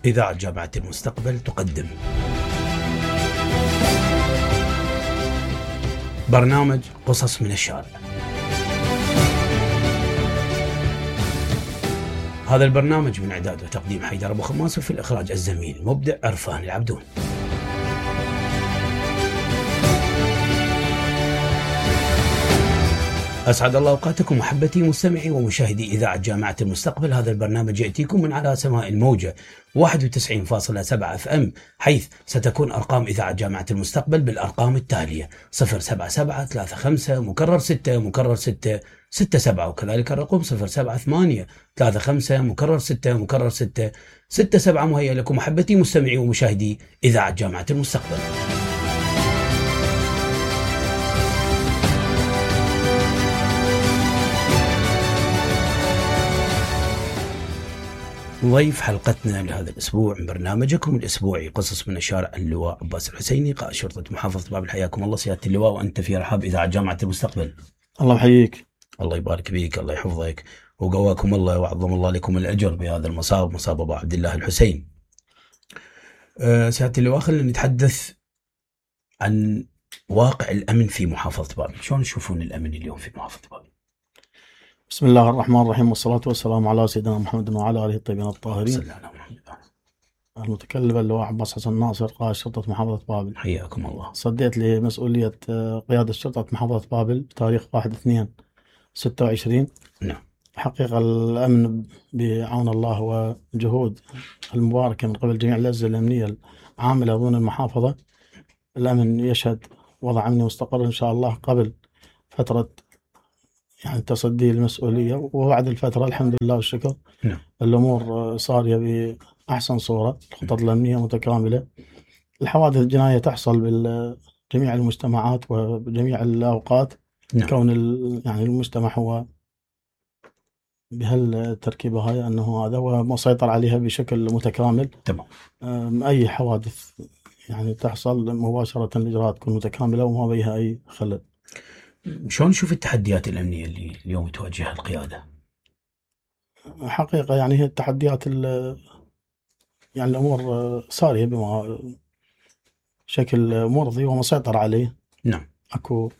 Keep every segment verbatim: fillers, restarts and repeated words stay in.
إذاعة جامعة المستقبل تقدم برنامج قصص من الشارع. هذا البرنامج من إعداد وتقديم حيدر أبو خماس، وفي الإخراج الزميل مبدع عرفان العبدون. أسعد الله أوقاتكم محبتي مستمعي ومشاهدي إذاعة جامعة المستقبل. هذا البرنامج يأتيكم من على سماء الموجة واحد وتسعين فاصلة سبعة اف ام، حيث ستكون أرقام إذاعة جامعة المستقبل بالأرقام التالية: صفر سبعة سبعة ثلاثة خمسة مكرر ستة مكرر ستة ستة سبعة، وكذلك الرقم صفر سبعة ثمانية ثلاثة خمسة مكرر ستة مكرر ستة ستة سبعة. مهيئ لكم محبتي مستمعي ومشاهدي إذاعة جامعة المستقبل. ضيف حلقتنا لهذا الأسبوع من برنامجكم الأسبوعي قصص من الشارع اللواء عباس الحسيني، قائد شرطة محافظة بابل. حياكم الله سيادة اللواء، وأنت في رحاب إذاعة جامعة المستقبل. الله يحييك. الله يبارك فيك، الله يحفظك وقواكم الله وعظم الله لكم الأجر بهذا المصاب، مصاب أبو عبد الله الحسين. أه سيادة اللواء، خلينا نتحدث عن واقع الأمن في محافظة بابل. شلون تشوفون الأمن اليوم في محافظة بابل؟ بسم الله الرحمن الرحيم، والصلاة والسلام على سيدنا محمد وعلى آله الطيبين الطاهرين. صلى الله عليه وسلم. المتكلم اللواء عباس حسن ناصر، قائد شرطة محافظة بابل. حياكم الله. صديت لمسؤولية قيادة شرطة محافظة بابل بتاريخ واحد اثنين ستة وعشرين. نعم. حقيقة الأمن بعون الله وجهود المباركة من قبل جميع الأجهزة الأمنية العاملة ضمن المحافظة، الأمن يشهد وضع أمني مستقر إن شاء الله قبل فترة يعني تصدي المسؤولية، وبعد الفترة الحمد لله والشكر نعم. الأمور صارية بأحسن صورة، الخطط الأمنية متكاملة. الحوادث الجنائية تحصل بجميع المجتمعات وبجميع الأوقات. نعم. كون يعني المجتمع هو بهالتركيبة هاي أنه هذا هو مسيطر عليها بشكل متكامل. تمام. أي حوادث يعني تحصل مباشرة الإجراءات تكون متكاملة وما بيها أي خلل. شلون نشوف التحديات الأمنية اللي اليوم تواجهها القيادة؟ حقيقة يعني هي التحديات يعني الأمور صارية بما شكل مرضي ومسيطر عليه. نعم. أكو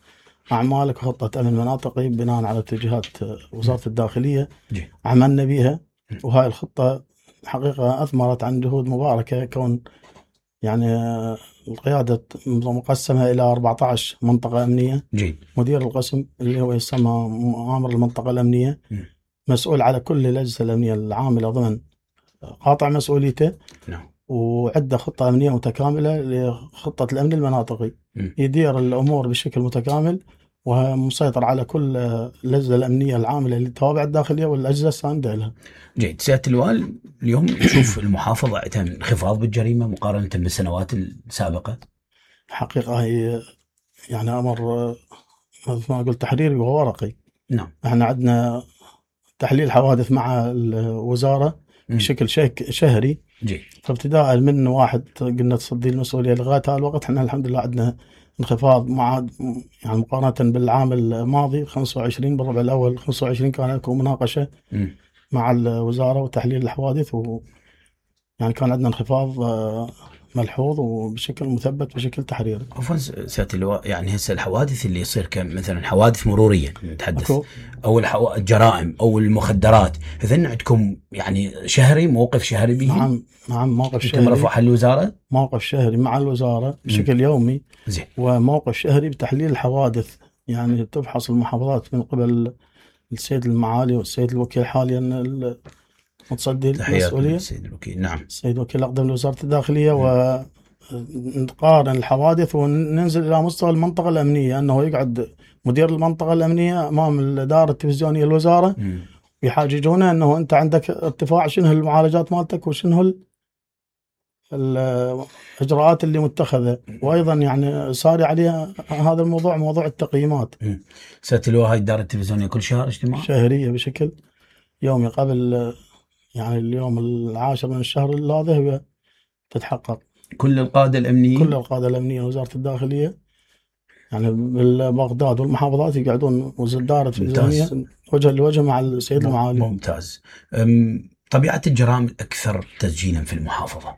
أعمال وخطة أمن مناطقي بناء على اتجاهات وزارة الداخلية جي. عملنا بيها، وهاي الخطة حقيقة أثمرت عن جهود مباركة. كون يعني القيادة مقسمة إلى أربعة عشر منطقة أمنية. جيد. مدير القسم اللي هو يسمى مآمر المنطقة الأمنية م. مسؤول على كل الأجهزة الأمنية العاملة ضمن قاطع مسؤوليته. نعم. وعدة خطة أمنية متكاملة لخطة الأمن المناطقي. م. يدير الأمور بشكل متكامل ومسيطر على كل الأجهزة الأمنية العاملة اللي تابعة الداخلية والأجهزة الساندة لها. جيد. سيادة اللواء، اليوم نشوف المحافظة عندها انخفاض بالجريمة مقارنة بالسنوات السابقة. حقيقة هي يعني أمر مثل ما قلت تحريري وورقي. نعم. احنا عندنا تحليل حوادث مع الوزارة بشكل شك شهري. جيد. فابتداء من واحد قلنا تصدي المسؤولية لغاية هالوقت احنا الحمد لله عندنا انخفاض مع يعني مقارنة بالعام الماضي خمسة وعشرين بالربع الأول خمسة وعشرين كان لكم مناقشة م. مع الوزارة وتحليل الحوادث، و يعني كان عندنا انخفاض ملحوظ وبشكل مثبت بشكل تحريري. عفوا سيادة اللواء، يعني هسه الحوادث اللي يصير كمثلا حوادث مرورية نتحدث أكو. أو الحو... الجرائم أو المخدرات، هذن عندكم يعني شهري موقف شهري به؟ نعم نعم موقف شهري مرفوع الوزارة؟ موقف شهري مع الوزارة بشكل م. يومي. زين. وموقف شهري بتحليل الحوادث، يعني تفحص المحافظات من قبل السيد المعالي والسيد الوكيل حاليا متصدي المسؤولية. السيد الوكيل. نعم. السيد الوكيل أقدم لوزارة الداخلية م. ونقارن الحوادث وننزل إلى مستوى المنطقة الأمنية، أنه يقعد مدير المنطقة الأمنية أمام الإدارة التلفزيونية الوزارة م. يحاججونه أنه أنت عندك ارتفاع، شنو المعالجات مالتك وشنو الإجراءات اللي متخذة. وأيضا يعني صار عليها هذا الموضوع موضوع التقييمات. سيادة اللواء، هاي الإدارة التلفزيونية كل شهر اجتماع؟ شهرية بشكل يومي قبل يعني اليوم العاشر من الشهر هذا هي تتحقق. كل القادة الأمنية كل القادة الأمنية وزارة الداخلية يعني بالبغداد والمحافظات يقعدون وزارة التلفزيونية وجه لوجه مع السيد المعالي. ممتاز. طبيعة الجرائم الأكثر تسجيلا في المحافظة؟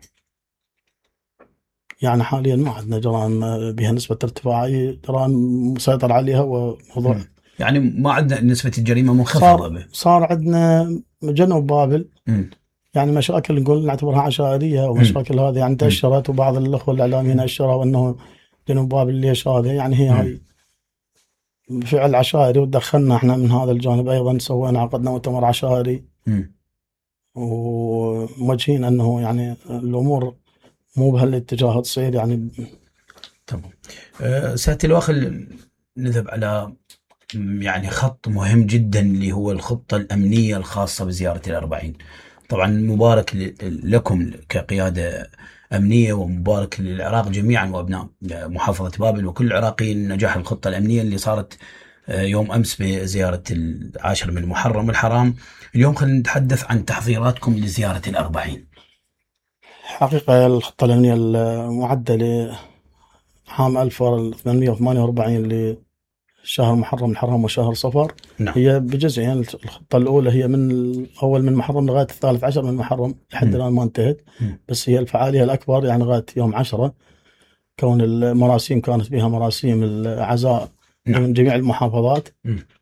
يعني حاليا ما عندنا جرائم بها نسبة ارتفاعية، جرائم مسيطر عليها وموضوع م. يعني ما عندنا نسبة الجريمة منخفضة. صار, صار عندنا جنوب بابل م. يعني مشاكل نقول نعتبرها عشائرية ومشاكل هذه يعني انتشرت، وبعض الأخوة الإعلاميين أشروا أنه جنوب بابل ليش هذا، يعني هي هاي فعل عشائري ودخلنا احنا من هذا الجانب أيضا، سوينا عقدنا مؤتمر عشائري وموجهين أنه يعني الأمور مو بهالاتجاه تصير يعني. تمام. أه سيادة الوخل، نذهب على يعني خط مهم جدا اللي هو الخطة الأمنية الخاصة بزيارة الأربعين. طبعا مبارك لكم كقيادة أمنية، ومبارك للعراق جميعا وأبناء محافظة بابل وكل العراقيين نجاح الخطة الأمنية اللي صارت يوم أمس بزيارة العاشر من محرم الحرام. اليوم خلينا نتحدث عن تحضيراتكم لزيارة الأربعين. حقيقة الخطة الأمنية المعدة لعام ألف وثمانمئة وثمانية وأربعين لشهر محرم الحرام وشهر صفر، نعم. هي بجزئين، يعني الخطة الأولى هي من أول من محرم لغاية الثالث عشر من محرم لحد الآن ما انتهت، م. بس هي الفعالية الأكبر يعني لغاية يوم عشرة، كون المراسيم كانت بها مراسيم العزاء، نعم. من جميع المحافظات،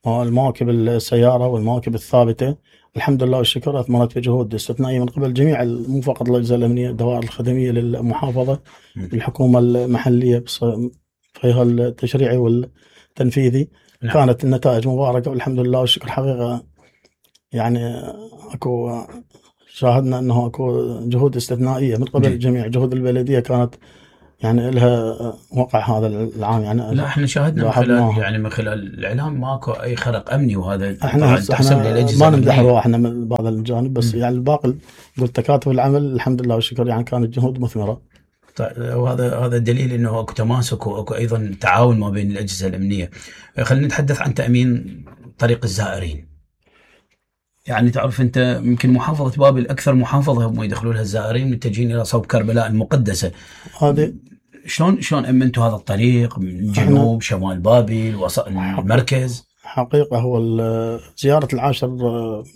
والمواكب السيارة والمواكب الثابتة الحمد لله والشكر أثمرت بجهود استثنائية من قبل جميع مو فقط الأجهزة الأمنية، الدوائر الخدمية للمحافظة، م. الحكومة المحلية فيها التشريعي والتنفيذي، نعم. كانت النتائج مباركة والحمد لله والشكر. حقيقة يعني أكو شاهدنا أنه أكو جهود استثنائية من قبل جي. جميع جهود البلدية كانت يعني لها وقع هذا العام. يعني لا احنا شاهدنا من خلال يعني من خلال الاعلام ماكو اي خرق امني، وهذا احنا تحسب للاجهزه ما نمدح روحنا من بعض الجانب، بس م. يعني الباقي قلت تكاتف العمل الحمد لله والشكر، يعني كانت جهود مثمره. طيب وهذا هذا دليل انه اكو تماسك واكو ايضا تعاون ما بين الاجهزه الامنيه. خلينا نتحدث عن تامين طريق الزائرين. يعني تعرف انت يمكن محافظه بابل اكثر محافظه هم يدخلون لها الزائرين متجهين الى صوب كربلاء المقدسه. هذه شلون شلون امنتوا هذا الطريق من جنوب شمال بابل وسط المركز؟ حقيقه هو زياره العاشر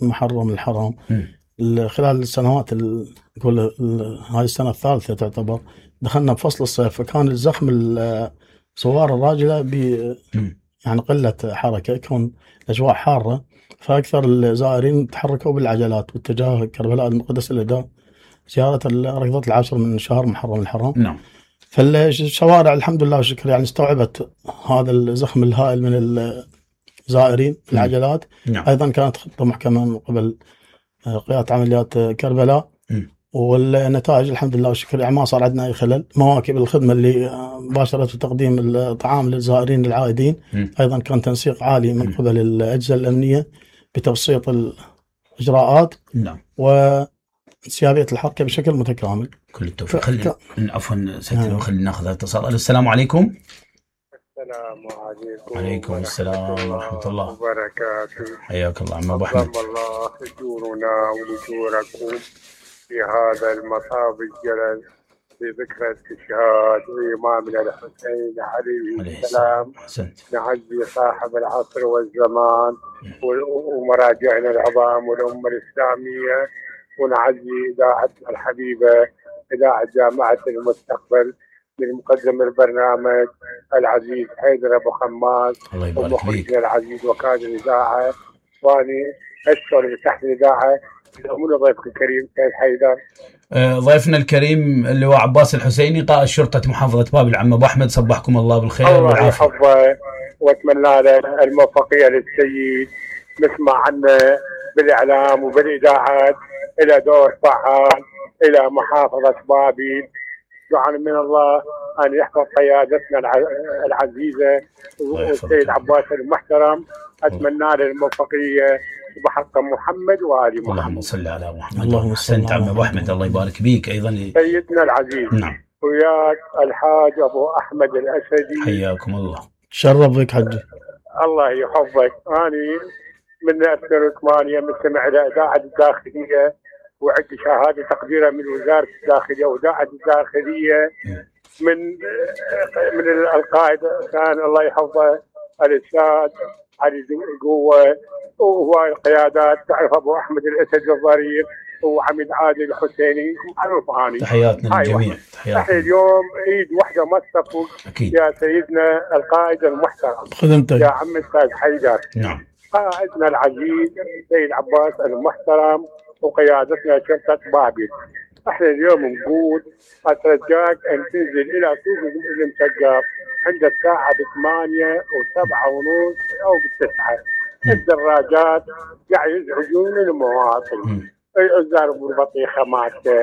محرم الحرام م. خلال السنوات نقول هاي السنه الثالثه تعتبر، دخلنا بفصل الصيف، فكان الزخم الصوار الراجله ب يعني قله حركه، كون الاجواء حاره، فاكثر الزائرين تحركوا بالعجلات واتجاه كربلاء المقدس الى زياره ركضه العاشر من شهر محرم الحرام. نعم. فالشوارع الحمد لله والشكر يعني استوعبت هذا الزخم الهائل من الزائرين في العجلات. نعم. ايضا كانت خطه محكمه من قبل قياده عمليات كربلاء، م. والنتائج الحمد لله والشكر يعني ما صار عندنا اي خلل. مواكب الخدمه اللي باشرت في تقديم الطعام للزائرين العائدين، م. ايضا كان تنسيق عالي من قبل الاجهزه الامنيه بتبسيط الاجراءات، نعم، وانسيابيه الحركه بشكل متكامل. كل التوفيق. ف... خلينا عفوا سيدي خلينا ناخذ اتصال. السلام عليكم. السلام عليكم. وعليكم السلام ورحمة الله وبركاته. حياك الله عم أبو أحمد. الله أجورنا ولجوركم في هذا المطاب الجلل في ذكرى استشهاد إمامنا الحسين عليه السلام. نعزي صاحب العصر والزمان ومراجعنا العظام والأمة الإسلامية، ونعزي إذاعتنا الحبيبة إذاعة جامعة المستقبل من مقدم البرنامج العزيز حيدر أبو خماس ومخرجنا العزيز وكادر الإذاعة، واني أشكر بتحت الإذاعة من ضيفك الكريم سيد حيدر. آه ضيفنا الكريم اللي هو عباس الحسيني قائد شرطة محافظة بابل. عم أبو أحمد صبحكم الله بالخير الله يحفظه واتمنى له الموفقية للسيد. نسمع عنه بالإعلام وبالإذاعات إلى دور فعال إلى محافظة بابل. دعاء من الله أن يحفظ قيادتنا العزيزة والسيد عباس المحترم. أتمنى له الموفقية بحق محمد وآل محمد. اللهم صل على محمد. اللهم صل على أبو أحمد. الله يبارك بيك أيضا سيدنا العزيز. نعم. وياك الحاج أبو أحمد الأسدي. حياكم الله. شرف بك حجي. الله يحفظك. أنا من ألفين وثمانية مستمع إلى إذاعة الداخلية، وعندي شهادة تقديرها من وزارة الداخلية وإذاعة الداخلية من من القائد كان الله يحفظه الأستاذ علي القوة، وهو القيادات تعرف أبو أحمد الأسد الظريف وعميد عادل الحسيني معروف اني. تحياتنا للجميع. احنا اليوم ايد واحده ما تصفق يا سيدنا القائد المحترم خدمتك يا عم الاستاذ حيدر. نعم. قائدنا العزيز السيد عباس المحترم وقيادتنا شرطه بابل. احنا اليوم نقول اترجاك ان تنزل الى سوق المسقف عند الساعه بثمانية وسبعة ونص او بالتسعه. الدراجات قاعد يزعجون المواطن، يضربوا البطيخه مالته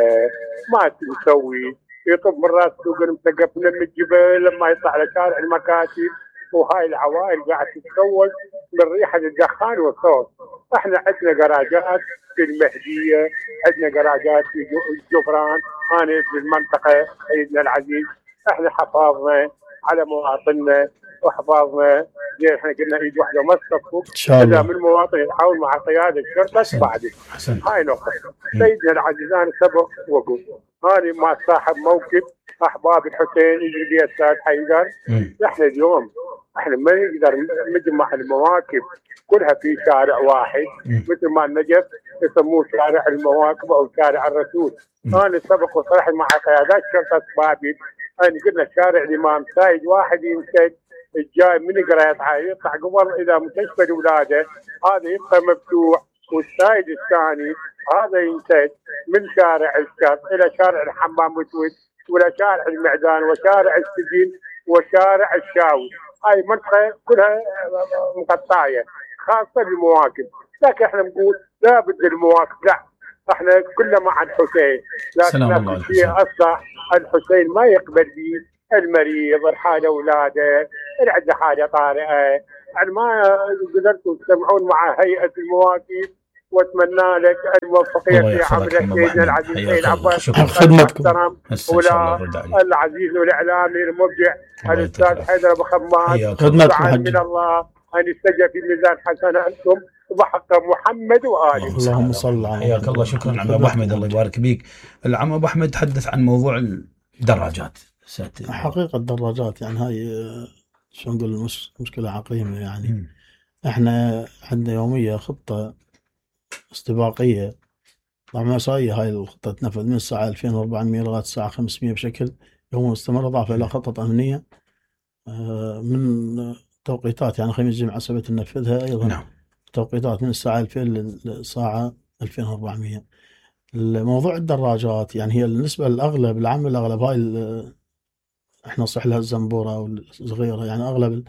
ما تسوي، يطب من راس سوق المسقف من الجبل لما يطلع لشارع المكاتب، وهاي العوائل قاعد تتسول من ريحه الدخان والصوت. احنا عندنا جراجات في المهديه، عندنا جراجات في جبران، انا في المنطقه سيدنا العزيز. احنا حفاظنا على مواطننا وحفاظنا زين. احنا قلنا ايد واحده ما تصفق اذا من المواطن يتعاون مع قياده الشرطه بعد. هاي نقطه. سيدنا العزيز انا سبق وقلت انا ما صاحب موكب احباب الحسين يجي بي استاذ حيدر. احنا اليوم احنا ما نقدر نجمع المواكب كلها في شارع واحد مثل ما النجف يسموه شارع المواكب او شارع الرسول. انا سبق وصرحت مع قيادات شرطه بابل انا قلنا شارع الامام سايد واحد ينسد الجاي من قريطها يطلع قبل الى مستشفى الولاده هذا يبقى مفتوح، والسايد الثاني هذا ينسد من شارع الشط الى شارع الحمام وتوت ولا شارع المعدان وشارع السجن وشارع الشاوي. هاي منطقه كلها مقطعيه خاصه بالمواكب، لكن احنا نقول لا بد المواكب، لا احنا كلنا مع الحسين، لكن في شيء اصلا الحسين ما يقبل به المريض الحاله اولاده اللي عنده حاجه طارئه. يعني ما قدرتوا تجتمعون مع هيئه المواكب، واتمنى لك الموفقيه في عمل سيدنا العزيز سيد عباس خدمتكم ولا العزيز والاعلامي المبدع الاستاذ حيدر ابو خماد. خدمتكم من الله ان يستجب في ميزان حسناتكم وبحق محمد واله. اللهم صل على حياك الله. شكرا عم ابو احمد، الله يبارك بيك. العم ابو احمد تحدث عن موضوع الدراجات. حقيقه الدراجات يعني هاي شو نقول مش مشكله عقيمه يعني. م. احنا عندنا يوميه خطه استباقيه طبعا مسائيه. هاي الخطه تنفذ من الساعه ألفين وأربعمية لغايه الساعه خمسمية بشكل يومي مستمر، اضافه الى خطط امنيه من توقيتات يعني خميس جمعه سبت ننفذها ايضا. نعم. توقيتات من الساعه ألفين للساعه ألفين وأربعمية. الموضوع الدراجات يعني هي النسبه الاغلب العام الاغلب هاي احنا نصح لها الزنبوره والصغيره يعني اغلب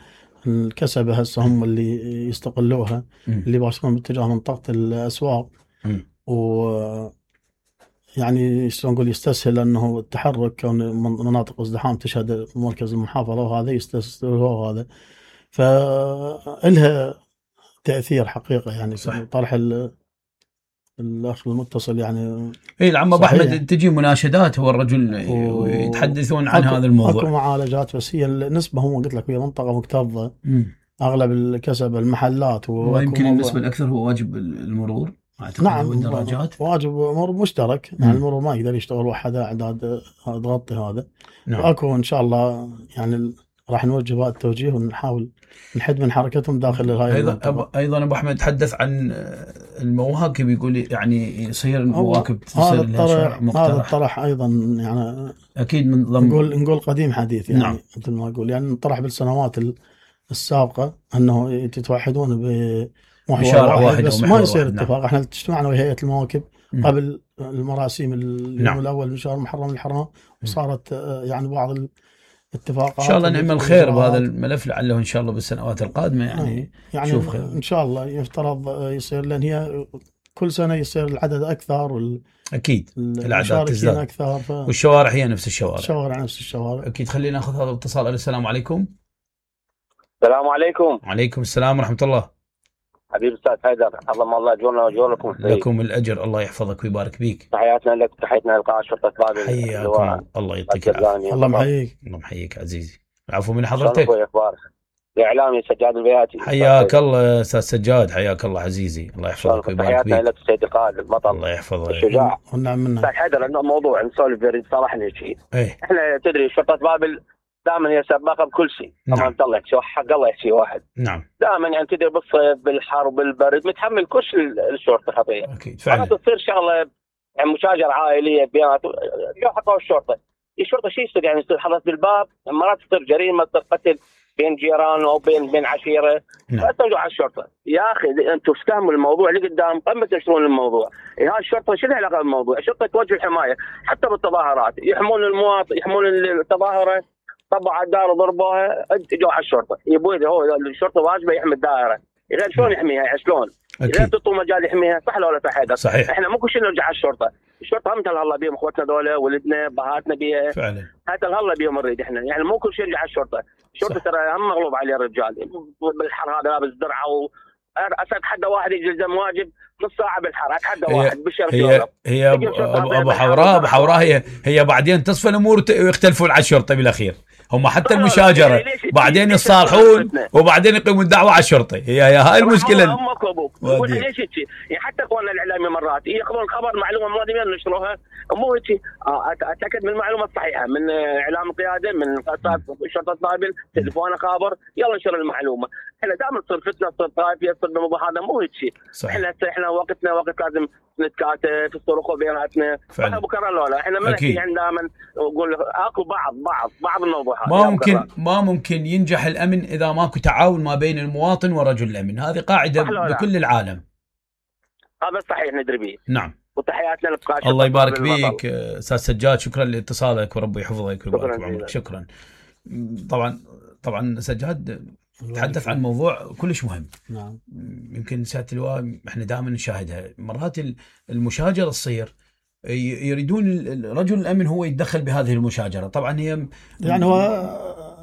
الكسبه هسه هم اللي يستقلوها م. اللي باشرون باتجاه منطقه الاسواق م. و يعني شلون نقول يستسهل انه التحرك كون مناطق ازدحام تشهد مركز المحافظه وهذا يستسهل هذا، فإلها تاثير حقيقه يعني. صح. طرح الاخ المتصل يعني اي العم ابو احمد تجي مناشدات هو الرجل ويتحدثون عن هذا الموضوع. اكو معالجات بس هي النسبه هم قلت لك هي منطقه مكتظه م. اغلب الكسب المحلات ويمكن النسبه الاكثر هو واجب المرور. نعم الدراجات واجب مرور مشترك يعني. المرور ما يقدر يشتغل وحده اعداد تغطي هذا. نعم. واكو ان شاء الله يعني راح نوجه هذا التوجيه ونحاول نحد من حركتهم داخل هاي ايضا أبو ايضا ابو احمد تحدث عن المواكب، يقول يعني يصير المواكب تصير لها شارع مقترح. هذا الطرح ايضا يعني اكيد من ضمن نقول نقول قديم حديث يعني. نعم. مثل ما اقول يعني طرح بالسنوات السابقه انه يتوحدون بشارع واحد, واحد بس ما يصير اتفاق. نعم. احنا اجتمعنا ويا هيئه المواكب م. قبل المراسيم اليوم نعم. الاول من شهر محرم الحرام وصارت يعني بعض اتفاقات. ان شاء الله نعمل خير بهذا الملف لعله ان شاء الله بالسنوات القادمه يعني يعني نشوف خير ان شاء الله. يفترض يصير لان هي كل سنه يصير العدد اكثر وال اكيد الاعداد تزداد اكثر ف... والشوارع هي نفس الشوارع. الشوارع نفس الشوارع اكيد. خلينا ناخذ هذا الاتصال. السلام عليكم. السلام عليكم. وعليكم السلام ورحمه الله. حبيب استاذ حيدر اللهم الله اجورنا واجوركم. لكم الاجر، الله يحفظك ويبارك فيك. تحياتنا لك تحياتنا لقاء شرطه بابل. حياكم الله يعطيك العافيه. الله محييك. الله محييك عزيزي. العفو من حضرتك. شلونك اخبارك؟ الاعلامي سجاد البياتي. حياك الله استاذ سجاد، حياك الله عزيزي، الله يحفظك ويبارك فيك. تحياتنا لك السيد القائد البطل الله يحفظه الشجاع. ونعم منه. استاذ حيدر عندنا موضوع نسولف بريد صراحه نحكي. ايه. احنا تدري شرطه بابل دائما هي سباقه بكل شيء. طبعا الله يحكي حق الله يحكي واحد. نعم. دائما يعني تدري بالصيف بالحر بالبرد متحمل كل شيء الشرطه خطيه. اكيد فعلا. تصير شغله يعني مشاجره عائليه بينات جو حطوا الشرطه. الشرطه شو يصير يعني يصير حرس بالباب، مرات تصير جريمه تصير قتل بين جيران او بين بين عشيره، فترجعوا على الشرطه. يا اخي انتم استهموا الموضوع اللي قدام قبل ما تنشرون الموضوع. هاي الشرطه شو لها علاقه بالموضوع؟ الشرطه توجه الحمايه حتى بالتظاهرات، يحمون المواطن يحمون التظاهره، طبعوا على الدار وضربوها، اجوا على الشرطه. يبوي هو الشرطه واجبه يحمي الدائره، غير شلون يحميها؟ شلون؟ غير تعطوا مجال يحميها، صح ولا لا حيدر؟ صحيح. احنا مو كل شيء نرجع على الشرطه، الشرطه هم تهلا بيهم اخوتنا ذولا، ولدنا بهاتنا بيها فعلا، هات هلا بيهم نريد احنا، يعني مو كل شيء يرجع على الشرطه، الشرطه ترى هم مغلوب عليه الرجال بالحر هذا لابس درعه و اتحدى واحد يلزم واجب نص ساعه بالحر، اتحدى واحد بالشرف. هي هي ابو حوراء ابو حوراء هي هي بعدين تصفى الامور ويختلفون على الشرطه بالاخير، هم حتى المشاجره بعدين يصالحون وبعدين يقيمون دعوه على الشرطه. هي هي هاي المشكله. هم كبوك ليش هيك؟ يعني حتى اخواننا الاعلامي مرات ياخذون خبر معلومه مرات ينشروها، مو هيك. اتاكد من المعلومه الصحيحه من اعلام القياده، من شرطه بابل، تليفونه خابر، يلا انشر المعلومه. احنا دائما تصير فتنه، تصير طائفيه، تصير بالموضوع هذا، مو هيك شيء. احنا احنا وقتنا وقت لازم نتكاتف، الصراخ بيناتنا. احنا بكره لا احنا ما نحكي يعني دائما نقول اكو بعض بعض بعض الموضوعات. ما ممكن ما ممكن ينجح الامن اذا ماكو تعاون ما بين المواطن ورجل الامن، هذه قاعده بكل العالم. هذا صحيح ندري به. نعم. وتحياتنا للقائد. الله يبارك بيك استاذ سجاد، شكرا لاتصالك وربي يحفظك ويبارك بعمرك. شكرا. طبعا طبعا سجاد تحدث عن موضوع كلش مهم. نعم. يمكن سيادة اللواء احنا دائما نشاهدها، مرات المشاجره تصير يريدون رجل الامن هو يتدخل بهذه المشاجره، طبعا هي يعني هو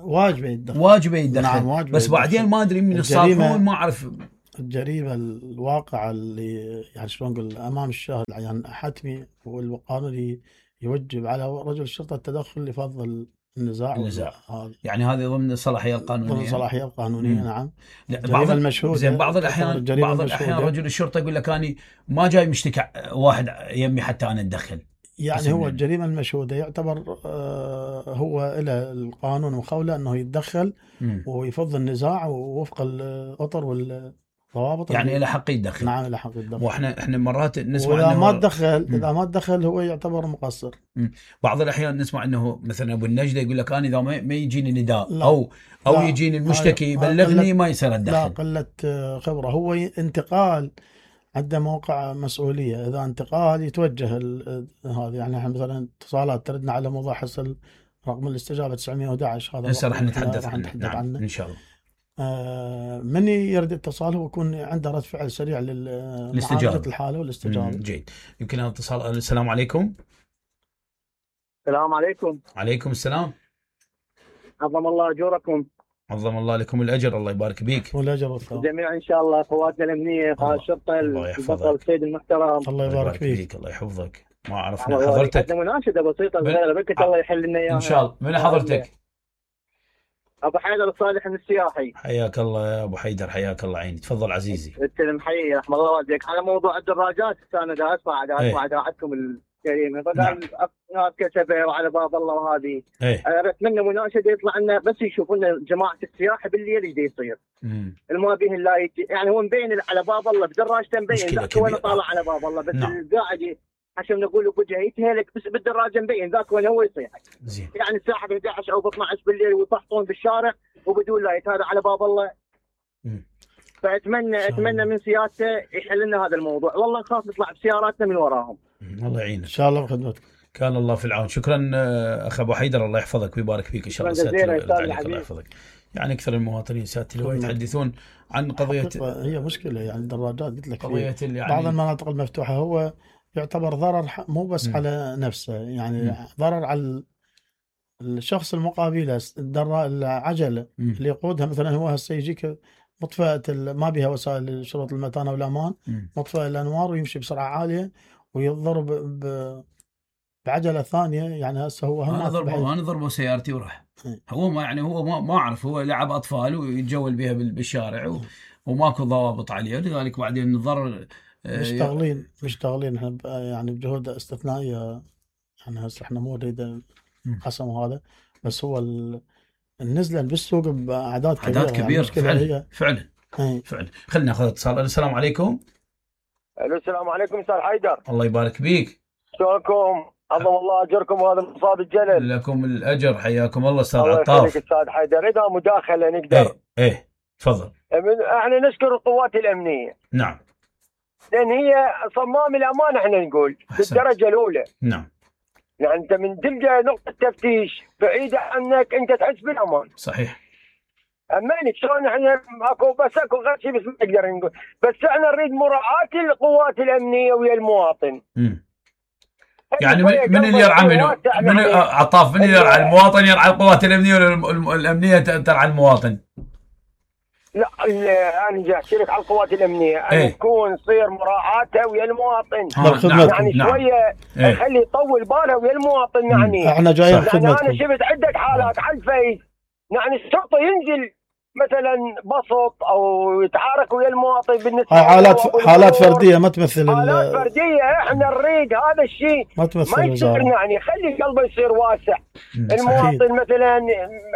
واجبه يتدخل، واجبه يتدخل. نعم واجبه بس يتدخل. بعدين ما ادري من الصالحون ما اعرف الجريمه الواقعه اللي يعني شلون نقول امام الشاهد يعني حتمي، والقانون يوجب على رجل الشرطه التدخل لفض النزاع. النزاع يعني هذه ضمن الصلاحيه القانونيه. ضمن الصلاحيه القانونيه. مم. نعم. بعض المشهود زين بعض الاحيان بعض الاحيان رجل الشرطه يقول لك اني ما جاي مشتكي واحد يمي حتى انا اتدخل. يعني هو الجريمه المشهوده يعتبر آه هو له القانون مخوله انه يتدخل مم. ويفض النزاع وفق الاطر والضوابط، يعني له حق يتدخل. نعم له حق يتدخل. واحنا احنا مرات نسمع واذا ما تدخل مم. اذا ما تدخل هو يعتبر مقصر. مم. بعض الاحيان نسمع انه مثلا ابو النجده يقول لك انا اذا ما يجيني نداء لا. او او لا. يجيني المشتكي يبلغني ما يصير اتدخل. لا قله خبره، هو انتقال عنده موقع مسؤوليه، اذا انتقال يتوجه هذا. يعني احنا مثلا اتصالات تردنا على موضوع حصل رقم الاستجابه تسعمية وأحد عشر، هذا هسه راح نتحدث عنه. نعم. عنه ان شاء الله. آه من يرد اتصال هو يكون عنده رد فعل سريع للاستجابه الحاله والاستجابه. جيد. يمكن هذا اتصال. السلام عليكم. السلام عليكم. عليكم السلام. عظم الله اجوركم. عظم الله لكم الاجر، الله يبارك بيك. والاجر والثواب. جميعا ان شاء الله، قواتنا الامنيه، قائد الشرطه، البطل السيد المحترم. الله يبارك فيك. الله يحفظك. ما عرفنا حضرتك. عندنا مناشده بسيطه صغيره بك الله يحل لنا اياها ان شاء الله. من حضرتك؟ ابو حيدر الصالح من السياحي. حياك الله يا ابو حيدر، حياك الله عيني، تفضل عزيزي. السلام حي رحم الله والديك. على موضوع الدراجات انا دا اسمع دا اسمع اذاعتكم الكريمه، فقال ناس كتبه وعلى باب الله وهذه. انا اتمنى مناشده يطلع لنا بس يشوفوا لنا جماعه السياحه بالليل ايش يصير. ما به الا يعني هو مبين على باب الله بدراجته مبين، ذاك وين طالع على باب الله بس قاعد عشان نقول بوجهه يتهلك بس بالدراجه مبين ذاك وين هو يصيح. يعني الساعه احد عشر او اثنا عشر بالليل ويفحصون بالشارع وبدون لايت، هذا على باب الله. فاتمنى اتمنى من سيادته يحل لنا هذا الموضوع، والله نخاف نطلع بسياراتنا من وراهم. الله يعينك. ان شاء الله بخدمتك. كان الله في العون. شكرا اخ ابو حيدر، الله يحفظك ويبارك فيك ان شاء الله. الله يحفظك. يعني اكثر المواطنين سيادة اللواء يتحدثون عن قضيه، هي مشكله يعني الدراجات قلت لك قضيه يعني بعض المناطق المفتوحه هو يعتبر ضرر مو بس م. على نفسه، يعني م. ضرر على الشخص المقابله. العجله م. اللي يقودها مثلا هو هسه يجيك مطفئه ما بها وسائل شروط المتانه والامان، مطفئه الانوار ويمشي بسرعه عاليه ويضرب ب... بعجله ثانيه. يعني هسه هو انا ضربه انا ضربه سيارتي وراح. هو ما يعني هو ما, ما اعرف، هو لعب اطفال ويتجول بها بالشارع و... وماكو ضوابط عليه، لذلك بعدين الضرر مشتغلين مشتغلين احنا يعني بجهود استثنائيه. يعني هسه احنا مو نريد قسم هذا، بس هو النزله بالسوق باعداد كبيره. اعداد كبيره يعني فعلا فعلا فعلا. خلينا ناخذ اتصال. السلام عليكم. الو السلام عليكم استاذ حيدر. الله يبارك بيك. شلونكم؟ عظم الله اجركم وهذا المصاب الجلل. لكم الاجر، حياكم الله استاذ عطاف. الله يخليك استاذ حيدر. اذا مداخله نقدر. ايه ايه تفضل. احنا نشكر القوات الامنيه. نعم. لان هي صمام الامان احنا نقول بالدرجه الاولى. نعم. يعني انت من تلقى نقطه تفتيش بعيده عنك انت تحس بالامان. صحيح. امانك شلون احنا اكو بس اكو غير شيء بس ما نقدر نقول، بس احنا نريد مراعاه القوات الامنيه ويا المواطن. امم يعني من, من اللي يرعى منه؟ من عطاف من اللي يرعى؟ المواطن يرعى القوات الامنيه ولا الامنيه ترعى المواطن؟ لا انا جاي اشترك على القوات الامنيه ان ايه؟ تكون تصير مراعاتها ويا المواطن. نعم. يعني نعم. شويه ايه؟ يخلي يطول باله ويا المواطن. يعني احنا جايين خدمتكم. يعني انا شفت عده حالات على الفيس، يعني الشرطه ينزل مثلا بسط او يتعارك ويا المواطن. بالنسبه هاي حالات حالات فرديه ما تمثل حالات فرديه. احنا نريد هذا الشيء ما تمثل ما يصير، يعني خلي قلبه يصير واسع. المواطن مثلا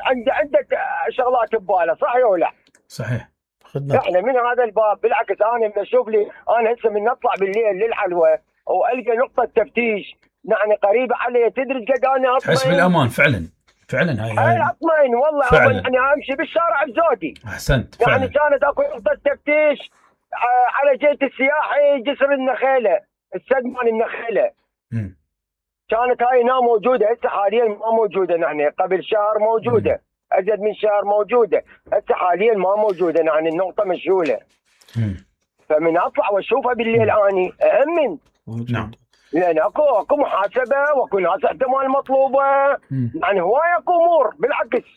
عنده عده شغلات بباله، صحيح ولا لا؟ صحيح. خدمة. احنا من هذا الباب بالعكس انا من اشوف لي انا هسه من نطلع بالليل للحلوه والقى نقطه تفتيش يعني قريبه علي، تدري قد انا اطمئن. تحس بالامان فعلا فعلا. هاي هاي اطمئن والله. فعلا. يعني امشي بالشارع بزودي. احسنت فعلا. يعني كانت اكو نقطه تفتيش على جهه السياحي جسر النخيله، السدمان النخيله. امم كانت هاي هنا موجوده، هسه حاليا ما موجوده. يعني قبل شهر موجوده. مم. ازيد من شهر موجوده، هسه حاليا ما موجوده. يعني النقطه مشغوله. امم فمن اطلع واشوفها بالليل اني اامن. نعم. لان اكو اكو محاسبه واكو ناس احتمال مطلوبه. مم. يعني هوايه اكو امور بالعكس.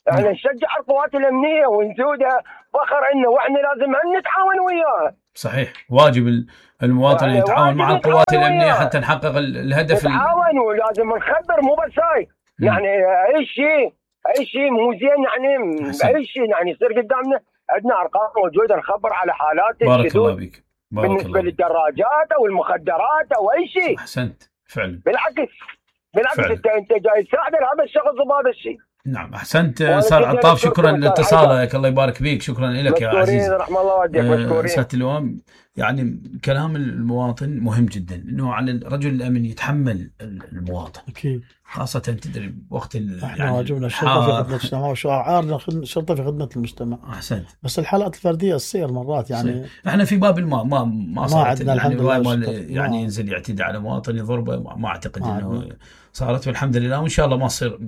احنا يعني نشجع القوات الامنيه ونزودها فخر انه واحنا لازم نتعاون وياها. صحيح. واجب المواطن يعني يتعاون مع القوات الامنيه وياها. حتى نحقق الهدف. نتعاون ولازم نخبر مو بس هاي. يعني اي شيء اي شيء مو زين يعني اي شيء يعني يصير قدامنا عندنا ارقام موجوده نخبر على حالات بارك الله بك. بارك بالنسبه الله للدراجات او المخدرات او اي شيء. احسنت فعلا. بالعكس بالعكس فعلا. انت انت جاي تساعد هذا الشخص بهذا الشيء. نعم احسنت استاذ عطاف. شكرا لاتصالك. الله يبارك فيك. شكرا لك يا عزيزي. مشكورين رحم الله والديك. مشكورين سياده اللواء. يعني كلام المواطن مهم جدا، انه على الرجل الامن يتحمل المواطن. اكيد. خاصه تدري وقت احنا يعني واجبنا الشرطه في خدمه المجتمع وشعارنا الشرطه في خدمه المجتمع. احسنت. بس الحالات الفرديه تصير مرات يعني صير. احنا في باب الماء ما ما صارت ما الحمد لله. يعني ينزل يعتدي على مواطن يضربه، ما اعتقد ما انه ما. صارت والحمد لله، وان شاء الله ما تصير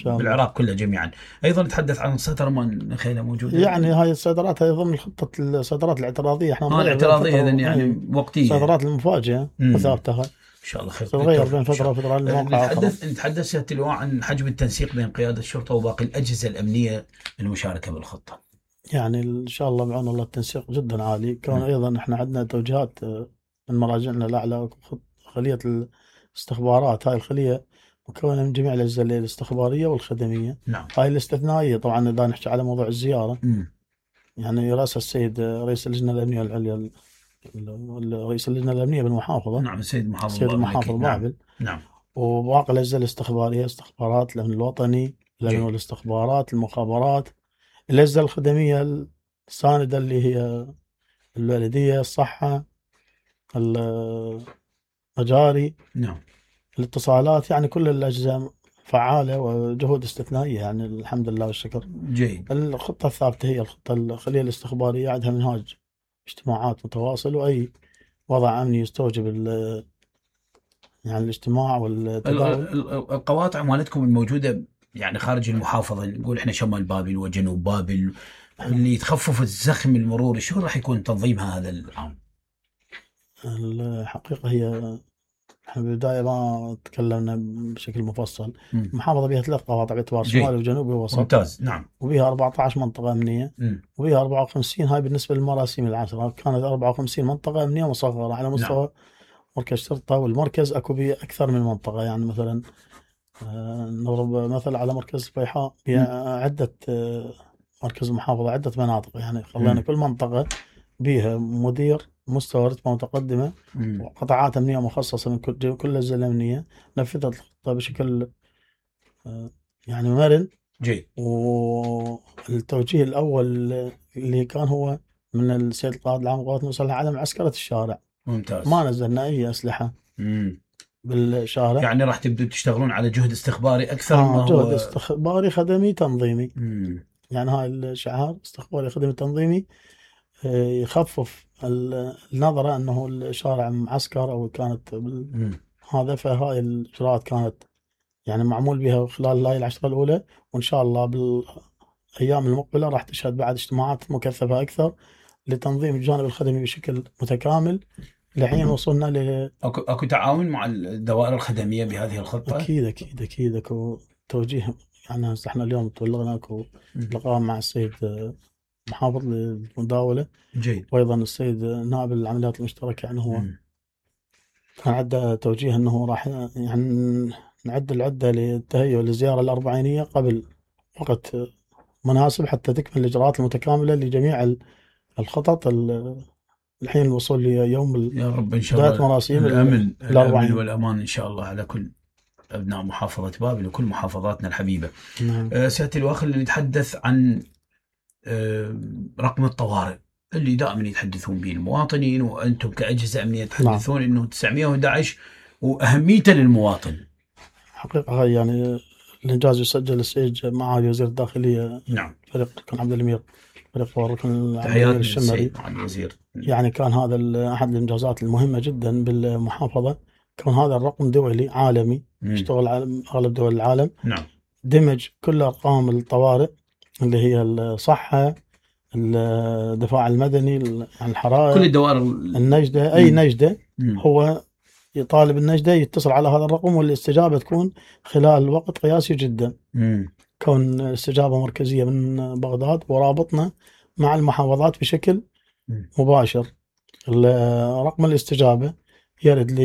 بالعراق كله جميعا. ايضا نتحدث عن سترمان نخيله موجوده. يعني هاي الصيدرات هي ضمن خطه الصيدرات الاعتراضيه. احنا اه الاعتراضيه اذا يعني وقتيه. الصيدرات المفاجئه وثابته هاي. ان شاء الله خير. تتغير بين فتره وفتره. نتحدث نتحدث سياده اللواء عن حجم التنسيق بين قياده الشرطه وباقي الاجهزه الامنيه للمشاركه بالخطه. يعني ان شاء الله بعون الله التنسيق جدا عالي. كون ايضا احنا عندنا توجيهات من مراجعنا الاعلى. خليه الاستخبارات هاي الخليه مكونه من جميع الاجهزه الاستخباريه والخدميه. نعم. هاي الاستثنائيه طبعا اذا نحكي على موضوع الزياره. م. يعني راسها السيد رئيس اللجنه الامنيه العليا، رئيس اللجنه الامنيه بالمحافظه. نعم السيد محافظ السيد المحافظ بابل. نعم. وباقي الاجهزه الاستخباريه، استخبارات الامن الوطني، الامن والاستخبارات، المخابرات، الاجهزه الخدميه السانده اللي هي البلديه، الصحه، المجاري. نعم. الاتصالات. يعني كل الاجهزه فعاله وجهود استثنائيه يعني الحمد لله والشكر. جيد. الخطه الثابته هي الخطه الخليه الاستخباريه، عندها منهاج اجتماعات متواصل، واي وضع امني يستوجب يعني الاجتماع والتداول. القواطع مالتكم الموجوده يعني خارج المحافظه، نقول احنا شمال بابل وجنوب بابل، اللي تخفف الزخم المروري، شو راح يكون تنظيمها هذا العام؟ الحقيقه هي احنا بالبدايه ما تكلمنا بشكل مفصل. المحافظه بها ثلاث قواطع باعتبار شمالي وجنوبي ووسط. ممتاز. نعم. وبها أربعة عشر منطقه امنيه. م. وبها أربعة وخمسين. هاي بالنسبه للمراسيم العشره. كانت أربعة وخمسين منطقه امنيه مصغره على مستوى نعم. مركز شرطه. والمركز اكو به اكثر من منطقه. يعني مثلا نضرب مثل على مركز الفيحاء بها عده، مركز المحافظه عده مناطق. يعني خلينا كل منطقه بها مدير مستوى رتبه متقدمه مم. وقطاعات امنيه مخصصه من كل كل الاجهزه الامنيه. نفذت الخطه بشكل يعني مرن. جيد. والتوجيه الاول اللي كان هو من السيد القائد العام للقوات المسلحه على معسكره الشارع. ممتاز. ما نزلنا اي اسلحه. امم بالشارع. يعني راح تبدوا تشتغلون على جهد استخباري اكثر آه ما هو جهد استخباري خدمي تنظيمي. مم. يعني هاي الشعار استخباري خدمي تنظيمي يخفف النظرة أنه الشارع معسكر أو كانت هذا. فهاي الإجراءات كانت يعني معمول بها خلال هاي العشرة الأولى، وإن شاء الله بالأيام المقبلة راح تشهد بعد اجتماعات مكثفة أكثر لتنظيم الجانب الخدمي بشكل متكامل لحين وصلنا ل أكو أكو تعاون مع الدوائر الخدمية بهذه الخطة؟ أكيد أكيد أكيد أكو توجيه. يعني احنا اليوم تبلغنا أكو لقاء مع السيد محافظ للمداولة جيد، وأيضا السيد نائب العمليات المشتركة. يعني هو م. كان عنده توجيه أنه راح يعني نعد العدة للتهيؤ للزيارة الأربعينية قبل وقت مناسب حتى تكمل الإجراءات المتكاملة لجميع الخطط. الحين الوصول ليوم يا رب إن شاء الله مراسيم الأمن, الأمن والأمان إن شاء الله على كل أبناء محافظة بابل وكل محافظاتنا الحبيبة. نعم. أه سيادة الواخر اللي نتحدث عن أه رقم الطوارئ اللي دائما يتحدثون به المواطنين وأنتم كأجهزة أمنية تحدثون نعم. إنه تسعمئة وأحد عشر وأهميته للمواطن. حقيقة يعني الإنجاز يسجل السيد مع وزير الداخلية. نعم. فريق كان عبد الأمير فريق وركن تحياتنا الشمري مع الوزير. يعني كان هذا أحد الإنجازات المهمة جدا بالمحافظة، كون هذا الرقم دولي عالمي يشتغل على أغلب دول العالم. نعم. دمج كل أرقام الطوارئ اللي هي الصحة، الدفاع المدني، الحرائق، كل الدوائر النجدة، أي مم. نجدة مم. هو يطالب النجدة يتصل على هذا الرقم والاستجابة تكون خلال وقت قياسي جدا. مم. كون استجابة مركزية من بغداد ورابطنا مع المحافظات بشكل مباشر. رقم الاستجابة يرد